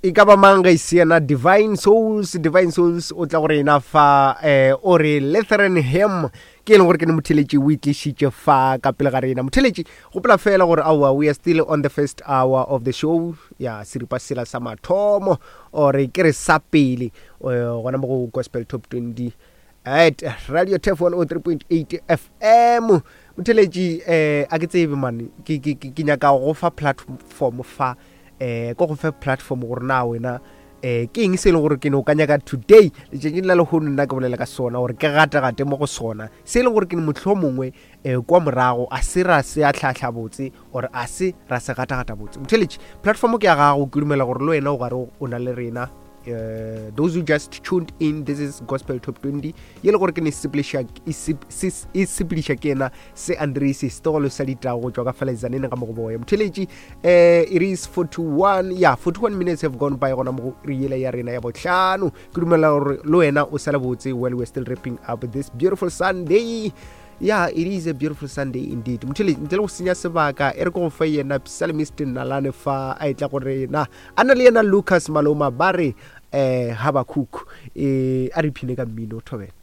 E ka ba mang ge e se yena Divine Souls? Divine Souls o tla go rena fa eh, o re Lutheran Hymn ke e leng gore ke ne motheletši o itlišitše fa ka pele ga rena. Motheletši, gopola fela gore aowa we are still on the first hour of the show ya seripa sela sa mathomo or ke re sa pele eh, gona mo go Gospel Top 20 at Radio Tef 103.8 FM. Motheletši eh, a ke tsebe mane ke, ke, ke, ke nyaka go fa platform fa eh ko go fe platform gore na wena eh ke eng se e leng gore ke ne o ka nyaka today letšatšing la lehono nna ke bolela ka sona gore ke gategate mo go sona se e leng gore ke ne motlho mongwe um kwa morago a se ra se a tlhatlha botse or a se ra se gatagata botse. Motheletši, platform ke ya gago, ke dumela gore le wena o gare o na le rena. Those who just tuned in, this is Gospel Top 20 ye le gore ke ne e sepediša ke yena se Andrese setogolo sa ditago go tšwa ka Falezanene ga mogoboya. Motheletši, it is 41, yeah, 41 minutes have gone by gona mo re yela ya rena ya bohlano. Ke dumela gore le wena o sale botse while we're still wrapping up this beautiful Sunday. Yeah, it is a beautiful Sunday indeed. Motheletši, ntle le go senya sebaka, e re ke go fa yena Psalmist Nalane fa a etla go rena a na le yena Lucas Maloma ba re Habakuk. A re iphine ka mmino, thobela.